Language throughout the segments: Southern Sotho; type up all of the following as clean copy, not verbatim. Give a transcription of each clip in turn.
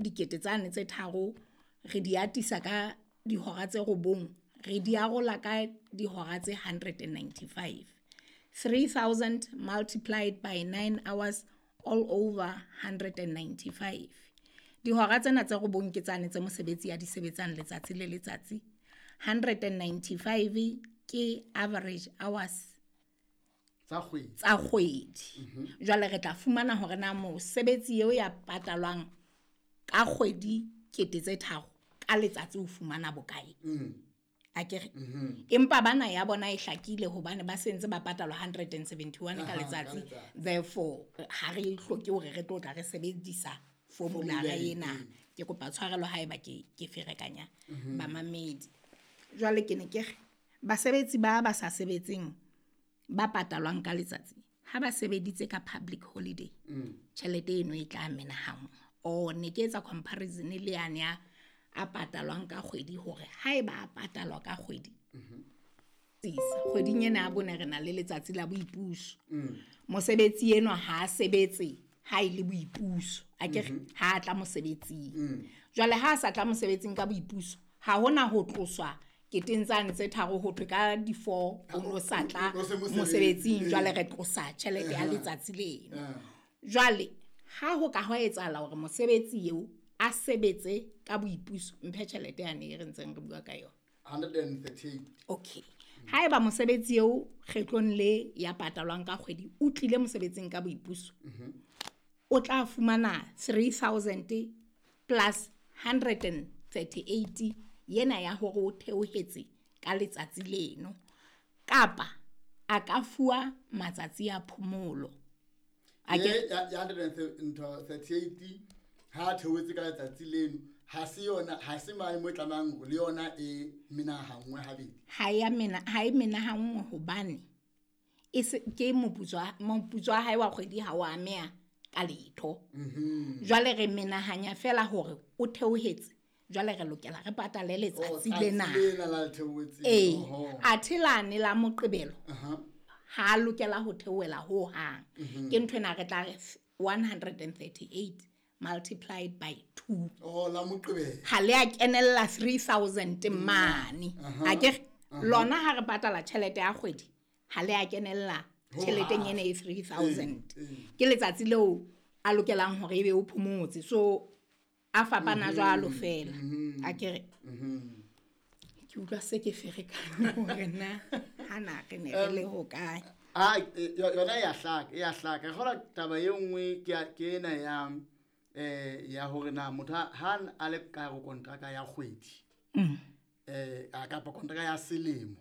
Dikete tsane tse tharo re di atisa ka dihora tse 9, re di arola ka dihora tse 195. 3000 multiplied by 9 hours all over 195. Dihora tsena tse 9 ke tsane tse mosebetsi a di sebetsang letsatsi le letsatsi. 195 ke average hours tsa kgwedi. Tsa kgwedi. Jwale re tla fumana hore na mosebetsi eo ya patalwang ka kgwedi kete tse tharo ka letsatsi o fumana bokae. Akere? Empa bana ya bona e hlakile hobane ba sentse ba patalwa 171 ka letsatsi. Therefore ha re hloke hore re tlo tla re sebedisa formula ena. Ke kopa tshwarelo haeba ke ferekanya bamamedi. Jwale ke ne ke re basebetsi ba sa sebetseng ba patalwang ka letsatsi ha ba sebeditse ka public holiday, tjhelete eno e tla menahanngwa. O ne ke etsa comparison le yane ya a patalwang ka kgwedi, hore haeba a patalwa ka kgwedi, kgweding ena ya bone re na le letsatsi la boipuso. Mosebetsi enwa ha a sebetse ha e le boipuso, akere ha a tla mosebetsing. Jwale ha a sa tla mosebetsing ka boipuso, ha hona ho tloswa keteng tsane tse tharo ho thwe ka di 4 o no sa tla mosebetsing, jwale re tlosa tjhelete ya letsatsi leno. Jwale ha ho ka hwa etsahala hore mosebetsi eo a sebetse ka boipuso, mphe tjhelete yane e re ntseng re bua ka yona. 138. Okay. Haeba mosebetsi eo kgetlong le ya patalwang ka kgwedi o tlile mosebetsing ka boipuso, o tla fumana 3000 plus 138 yena ya hore o theohetse ka letsatsi leno, kapa a ka fuwa matsatsi a phomolo. Ya 138 ha theohetse ka letsatsi leno, ha se yona, ha se mane mo tlamang le yona e menahanngwe habedi. Ha ya mena, ha e menahanngwe hobane e se ke moputso wa hae wa kgwedi ha o ameha ka letho. Jwale re menahanya fela hore o theohetse, jwale re lokela re patale letsatsi lena. Athe lane la Moqebelo ha lokela ho theohela ho hang. Ke ntho ena re tla re 138 multiplied by 2. Oh, la Moqebelo. Ha le a kenella 3000 mane. Akere lona ha re patala tjhelete ya kgwedi, ha le a kenella tjheleteng ena e 3000. Ke letsatsi leo a lokelang hore ebe o phomotse. So a fapana jwalo fela. Akere ke utlwa se ke ferekane hore na hana re ne re le hokae. Yona ya hlaka, ya hlaka. Re taba e nngwe ke ena ya ya hore na motho ha a le ka ho kontraka ya kgwedi, a kapa kontraka ya selemo,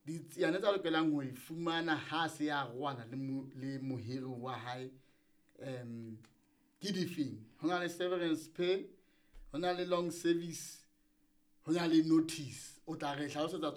ditsiane tsa lokelang ho e fumana ha se ya rwana le mohiri wa hae, ke difeng? Ho na le severance pay, ho na le long service, ho na le notice. O tla re hlalosetsa